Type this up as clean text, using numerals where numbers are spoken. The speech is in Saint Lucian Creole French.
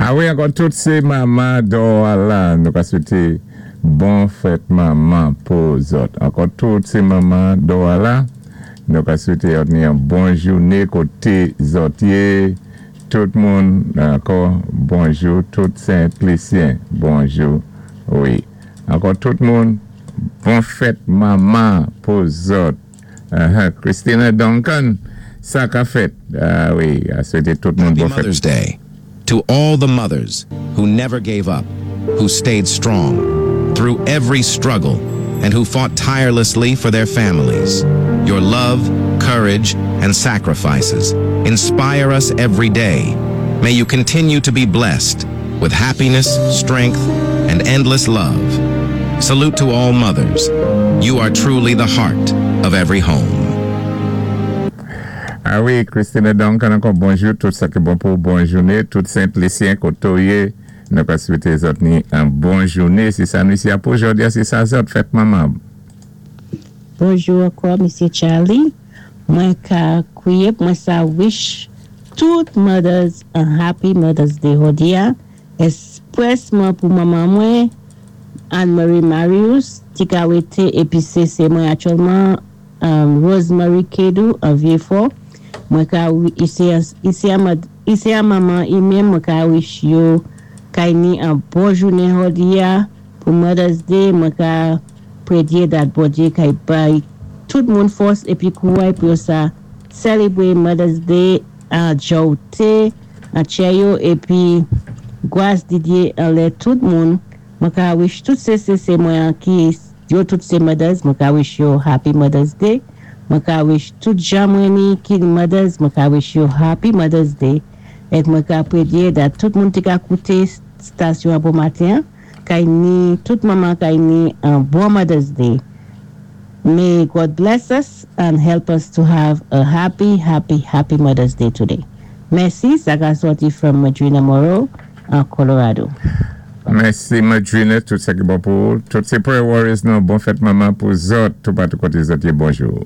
A wi, ankò tout sé manman dò la, nou ka swété bon fèt manman pou zòt. Ankò tout sé manman dò la, nou ka swété zòt ni yon bon jouné koté zòt yé. Tout moun, ankò, bonjou, tout Sent Lisyen, bonjou, wi. Ankò tout moun, bon fèt manman pou zòt. Christina Duncan, sa ka fèt. A wi, a swété tout moun Happy bon fèt. Mother's Day to all the mothers who never gave up, who stayed strong through every struggle, and who fought tirelessly for their families. Your love, courage, and sacrifices inspire us every day. May you continue to be blessed with happiness, strength, and endless love. Salute to all mothers. You are truly the heart of every home. A wi, Christina Duncan, ankò bonjou, tout sa ki bon pou bon jouné, tout Sent Lisyen koto yé, nou ka swété zòt ni an bon jouné, sé sa nou isi a pou jòdi a, sé sa zòt fèt manman. Bonjou ankò, Misyé Charlie. Mwen ka kwiyé mwen sa wish tout mothers a happy Mother's Day jòdi a, èsprèsman pou manman mwen, Anne-Marie Marius, ti ka wété épi sé sé mwen aktyèlman Rosemary Kedou an Vieux-Fort. Mwen ka isi a manman i menm mwen ka wish yo kay ni an bon jounen jòdi a pou Mother's Day. Mwen ka prédyé dat Bondyé kay bay tout moun fòs épi kouray pou yo sa sélébwé Mother's Day an jòwté an tchè yo épi gwas di Dyé anlè tout moun. Mwen ka wish tout CCC mwen an ki yo tout sé mothers, mwen ka wish yo happy Mother's Day. Mwen ka wish tout jan mwen ni ki mothers, mwen ka wish yo happy Mother's Day. Èk mwen ka prédyé dat tout moun ti ka kouté stasyon an bon maten, kay ni tout manman kay ni an bon Mother's Day. May God bless us and help us to have a happy, happy, happy Mother's Day today. Mèsi, sa ka sòti from Madrina Moreau an Colorado. Mèsi Madrina, tout sa ki bon pou tout sé prayer warriors nou, bon fèt manman pou zòt, tout patou koté zòt yé, bonjou.